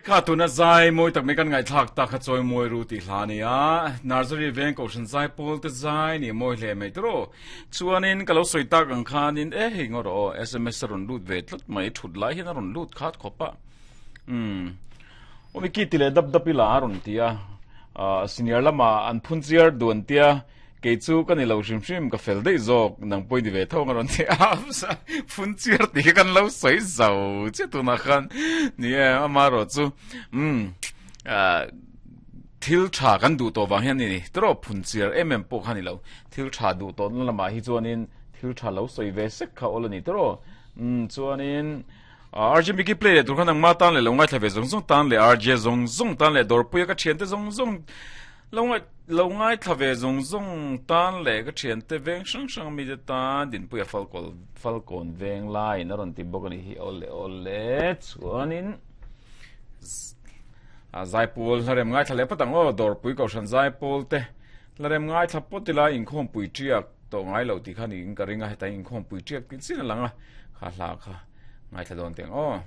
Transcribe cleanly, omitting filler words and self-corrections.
Kha tuna zai mawi tak mai kan ngaihthlak tak kha chawi mawi ru tih hla a ni a, Nursery veng Kohhran zai pawl te zai ni mawi hle mai tawh. Chuanin ka lo sawi tak ang khanin e hei ngaw rawh aw sms a rawn lut ve tlat mai thut lai hian a rawn lut khat khawp a. Umm awmi ki ti leh dap dap ila a rawn ti a, senior lamah an phun chiar duan tia Kei chu ka ni lo hrim hrim, ka fel daih zawk, nang pawh i ni ve tho ang a rawn ti a, phun chiar tih kha kan lo sawi zo chiah tunah khan ni e, amaherawh chu umm thil tha kan duh tawh vang hian a ni tawh phun chiar em em pawh kha a ni lo, thil tha duh tawhna lamah hi chuanin thil tha lo sawi ve sek kha awl a ni tawh umm chuanin RJ Mickey play leh tur khan nangma tan leh lo ngaithla ve zawng zawng tan leh RJ zawng zawng tan leh dawrpuia ka thiante zawng zawng Lo ngaih lo ngaithla ve zawng zawng tan leh ka thiante veng hrang hrang mite tan Dinpuia Falkawl Falkawn veng laiin a rawn ti bawk a nih hi awle awle chuanin a zaipawl hlarem ngaithla leh phawt ang aw Dawrpui Kohhran zaipawl te hlarem ngaithla pawt ila inkhawmpui tiak tawh ngai lo tih kha niin ka ring a heta inkhawmpui tiak tih chin a lang a kha hla kha ngaithla dawn teng aw.